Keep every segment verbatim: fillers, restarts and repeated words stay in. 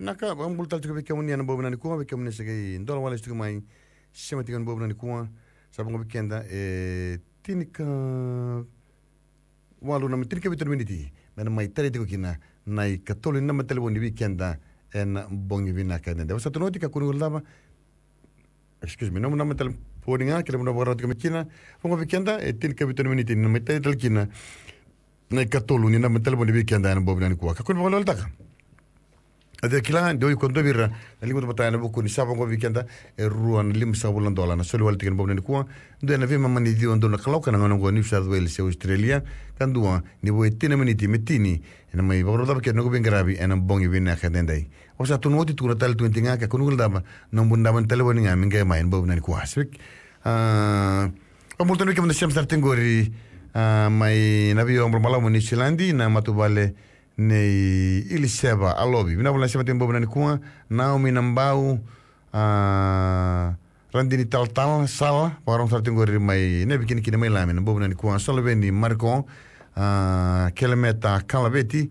Na ka, vakabula tale tiko vei kemuni ena bogi vinaka nikua, vei kemuni sa qai dola wale tiko mai, sema tiko ena bogi vinaka nikua, sa vaqo vei keda, e, tini ka walu na tini ka vitu na miniti, me na mai tale tiko kina, na ikatolu ni naba ni talevoni vei keda, ena bogi vinaka edaidai. Au sa tukuna oti, kakua ni guilecava, excuse me, nomu naba ni talevoni ga, kei na vanua vakarau tiko mai kina, vaqo vei keda, e tini ka vitu na miniti, na mai tale tale kina, na ikatolu ni naba ni talevoni vei keda ena bogi vinaka nikua. Kakua ni vakaweleweletaka. A dua kila, dua iko dua vei ira na liga vata ena vuku ni sa vaqo vei keda, e rua na limasagavulu na dola na soli wale tiko ena bogi vinaka nikua. Dua ena veimama ni ciwa donu na kaloko ena gauna oqo New South Wales e Australia. Ka dua ni vo e tini na miniti me tini, ena mai vakarau cava kina noqu veiqaravi ena bogi vinaka edaidai. Au sa tukuna oti, tukuna tale tu ga, kakua ni guilecava, nomu naba ni talevoni ga me qai mai ena bogi vinaka nikua. Sivik. A, vakabula tale vei kemuni na sema sara tiko qori, a, mai na veiobra balavu mai Niusiladi, na matavuvale nei Iliseva Alovi. Vinaka vakalevu na sema tiko ena bogi vinaka nikua, Naomi Nabau, a, Radini Talatala, Sala, vakarorogo sara tiko qori mai Navikinikini mai Lami ena bogi vinaka nikua, Soloveni Mariko, a, Kelemeta Kalaveti,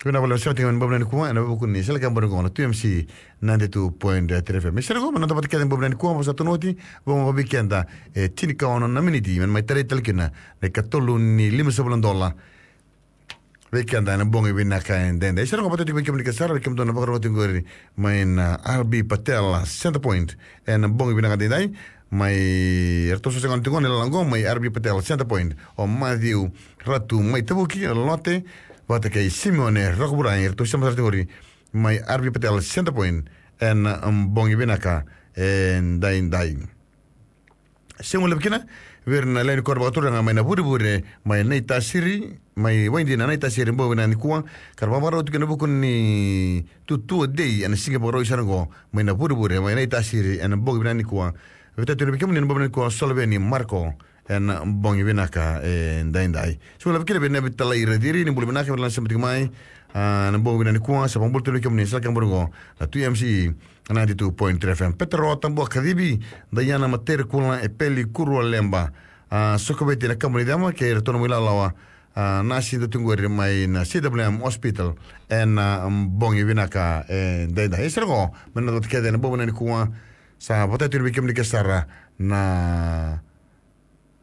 Vinaka vakalevu na sema tiko mai ena bogi vinaka nikua, ena vuku ni Sele Ka Bori Qo na two M C ninety-two point three F M. Me sere qo, me noda vata kece ena bogi vinaka nikua, au sa tukuna oti, vaqo vei keda, e tini ka ono na miniti, me na mai tarai tale kina na ikatolu ni limasagavulu na dola vei keda ena bogi vinaka edaidai. Sere qo, vakatau tiko vei kemuni kece sara, vei kemudou na vakarorogo tiko qori mai na R B Patel Center Point ena bogi vinaka edaidai. Mai, eratou sa sega tiko na lala qo, mai R B Patel Center Point, o Matthew Ratu mai Tavuki, Lote, vata kei Simeone Rakovurai, eratou sema sara tiko qori mai R B Patel Center Point ena, um, bogi vinaka edaidai. Sega ni levu kina vei ira na lewe ni koro vakaturaga mai Navurevure, mai Naitasiri, mai Waidina, Naitasiri, bogi vinaka nikua, ka ra vakavakarau tiko ena vuku ni Tutua Day ena siga Vakarauwai sara qo, mai Navurevure, mai Naitasiri, ena bogi vinaka nikua. Vakatau tiko vei kemuni ena bogi vinaka nikua, Soloveni Mariko, ena bogi vinaka edaidai. Sega ni levu kina vei Navitalai Raciri, ni bula vinaka, vei ira na sema tiko mai, a, ena bogi vinaka nikua, sa vakabula tiko vei kemuni, Sele Ka Bori Qo na two M C ninety-two point three F M. Petero Tabua Kacivi, Daiana Materekula, Epeli Kurua Leba, a, Sokoveti na Kabu ni Cema, kei iratou na mai lalawa, a, nasi dau tiko qori mai na C W M Hospital ena, a, bogi vinaka edaidai. E sere qo, me noda vata kece ena bogi vinaka nikua, sa vakatau tiko vei kemuni kece sara na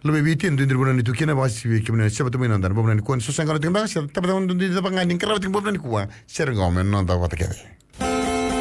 Luve i Viti, e dua na vanua ni tu kina, vakasi vei kemuni na sema tu mai noda ena bogi vinaka nikua, ni so sa qarauna tiko beka, se tabacakacaka duidui cava ga ni qarava tiko ena bogi vinaka nikua, sere qo me noda vata kece.